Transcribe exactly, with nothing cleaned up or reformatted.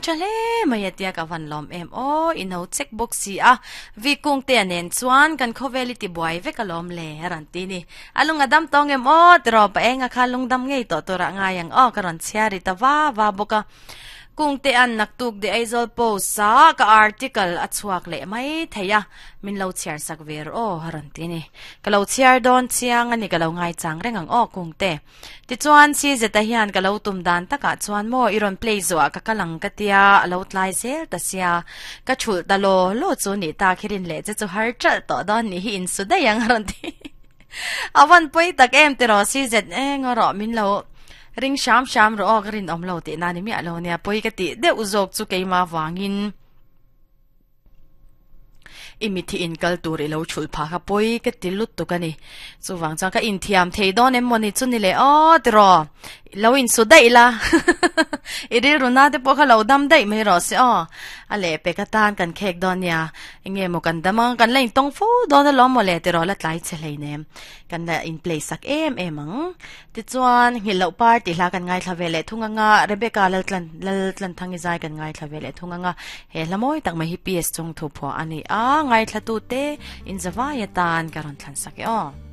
tha hle mai atia ka van lawm em aw i no chek bawk si a vi kung te nen chuan kan khawvel i ti buai vek alawm le a rawn ti ni a lung a dam tawng em aw tiraw pa enga kha lung dam ngei tawh tur ah ngai ang aw ka rawn chhiar ri ta va va bawk a kung te an naktuk de Aizawl Post a ka article a chhuak leh mai thei a min lo chhiar sak ve rawh aw a rawn ti ni ka lo chhiar dawn chiang ani ka lo ngai chang reng ang aw kung te tichuan si zeta hian ka lo tum dan takah chuan maw i rawn play zawh ka kalang ka tia a lo tlai zel ta sia ka thulh ta law law chu ni ta khirin leh che chu har chalh tawh dawn ni hi in su daih ang a rawn ti a van pawi tak em tiraw si zet eng rawh min lo ring sham sham rawh aw ka rin awm lo tih na ni miah lo nia pawi ka tih deuh zawk chu keimah vangin i mithi in kal tur i lo thulh phah kha pawi ka ti lut tuk ani chuwang chuan ka inthiam thei dawn em mawni chu ni le aw tiraw lo in su daih la i rilru na te pawh kha lo dam daih mai rawh se aw a leh pek atan kan khek dawn nia enge maw kan dam ang kan la intawng fo dawn alawm maw le tiraw la tlai che hleinem kan la in play sak em em ang tichuan nghilh loh par tih hla kan ngaithla ve leh thung anga Rebecca Laltlan Laltlanthang i zai kan ngaithla ve leh thung anga he hla mawi tak mai hi P S chung thu phuah ani a ngaithla tu te in zawai atan ka rawn thlan sak e aw.